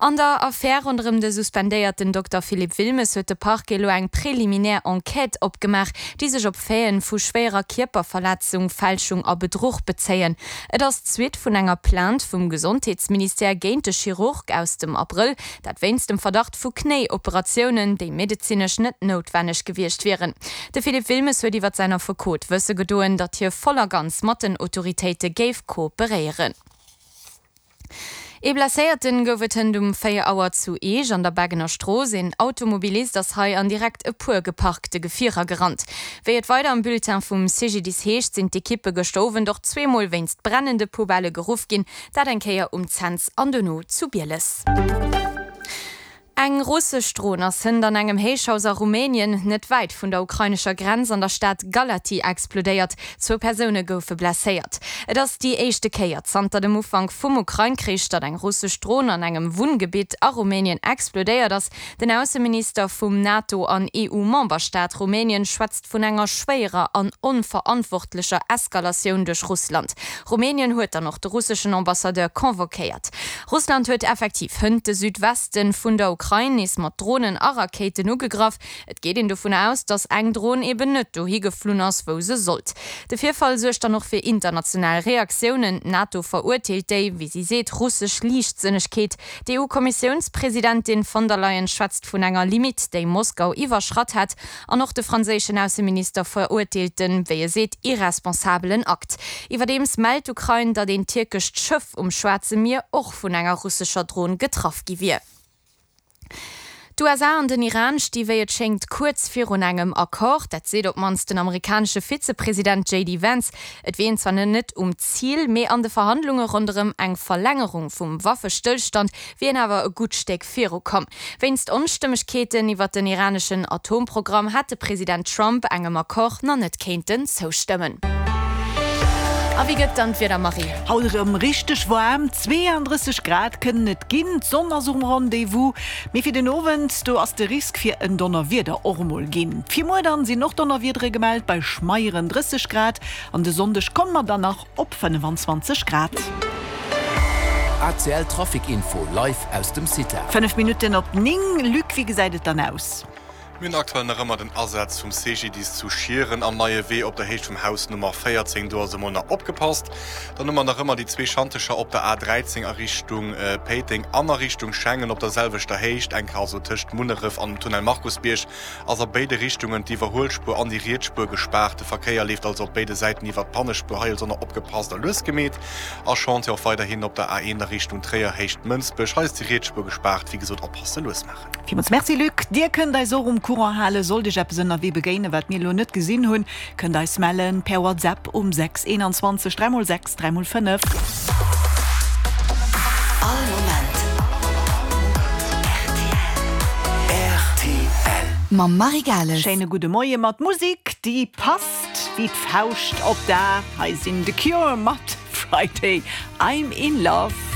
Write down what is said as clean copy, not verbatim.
An der Affär ronderëm de suspendéierten Dokter Philippe Wilmes huet de Parquet elo eng preliminär Enquête opgemaach, déi sech op Faiten vu schwéierer Kierperverletzung, Fälschung a Bedruch bezéien. Et ass d'Suite vun enger Plainte vum Gesondheetsministère géint de Chirurg aus dem Abrëll, dat wéinst dem Verdacht vu Knéi-Operatiounen, déi medezinesch net noutwenneg gewiescht wieren. De Philippe Wilmes huet iwwer säin Affekot wësse gedoen, datt hie voll a ganz mat den Autoritéite géif kooperéieren. Ee Blesséierten gouf et hënt um 4 Auer zu Eech an der Beggener Strooss. Een Automobilist ass hei an direkt e puer geparkte Gefierer gerannt. Wéi et weider am Bulletin vum CGDIS heescht, sinn d'Ekippe gëschter Owend och zweemol wéinst brennende Poubellë geruff ginn, dat eng Kéier um Cents an dono zu Bieles. Eng russesch Dron ass hënt an engem Héichhaus a Rumänien, net wäit vun der ukrainescher Grenz an der Stad Galati explodéiert. Zwou Persoune goufe blesséiert. Et ass déi éischte Kéier zanter dem Ufank vum Ukrain-Krich, datt eng russesch Dron an engem Wunngebitt a Rumänien explodéiert ass. Den Ausseminister vum NATO an EU-Memberstaat Rumänien schwätzt vun enger schwéierer an onverantwortlecher Eskalatioun duerch Russland. Rumänien huet dann och de russeschen Ambassadeur convoquéiert. Russland huet effektiv hënt de Südweste vun der Ukrain nees mat Dronen a Rakéiten ugegraff. Et geet een dovun aus, datt eng Dron eben net dohi geflunn ass, wou se sollt. De Virfall suergt dann och fir international Reaktiounen. D'NATO verurteelt déi, wéi si seet, russesch Liichtsënnegkeet. D'EU-Kommissiounspresidentin von der Leyen schwätzt vun enger Limitt, déi Moskau iwwerschratt hätt. An och de franséischen Ausseminister verurteelt den, wéi e seet, irresponsabelen Akt. Iwwerdeems mellt d'Ukrain, datt een tierkescht Schëff um Schwaarze Mier och vun enger russescher Dron getraff gi wier. D'USA an den Iran sti wéi et schéngt kuerz virun engem Accord. Dat seet op d'mannst den amerikanesche Vizepresident JD Vance. Et wier een zwar net um Zil, mee an de Verhandlunge ronderëm eng Verlängerung vum Waffestëllstand wier een awer e gutt Stéck virukomm. Wéinst Onstëmmegkeeten iwwer den iraneschen Atomprogramm hätt de President Trump engem Accord nach net kéinten zoustëmmen. A wéi gëtt dann d'Wieder, Marie? Haut erëm richteg waarm, 32 Grad kënnen et ginn. D'Sonn ass um Rendez-vous, mee fir den Owend, do ass de Risk fir en Donnerwieder och emol ginn. Fir muer dann sinn och Donnerwiedere gemellt bei schmeieren 30 Grad an de Sonndeg komme mer dann nach op 25 Grad. ACL Trafic Info live aus dem CITA. 5 Minutten op 9, Luc, wéi gesäit et dann aus? Mir hunn aktuell nach ëmmer den Asaz vum CGDIS zu Schieren am Neie Wee op der Héicht vum Haus Nummer 14. Do ass emol nach opgepasst. Dann hu mer nach ëmmer déi zwee Schantecher op der A13 a Richtung Péiteng an a Richtung Schengen op der selwechter Héicht, eng Kéier also tëscht Munneref an dem Tunnel Markusbierg. ass a béide Richtungen d'Iwwerhuelspuer an déi riets Spuer gespaart. De Verkéier leeft also op béide Säiten iwwert d'Pannespuer. Hei also nach opgepasst a lues gemeet. A Chantier och weiderhin op der A1 a Richtung Tréier, Héicht Mënsbech. Hei ass déi riets Spuer gespaart. Wéi gesot, oppasse, lues maachen. Villmools Merci Luc. Dir kënnt eis och um Courant halen. Sollt Iech eppes ënnerwee begéinen, wat mir elo net gesinn hunn, kënnt eis mellen per WhatsApp um 6 21 3 x 6 3 x 5. All Moment rtl. Mam Marie Gales. Schéine gudde Moie mat Musik, déi passt wéi d'Fauscht op d'A. Hei sinn The Cure mat Friday I'm in Love.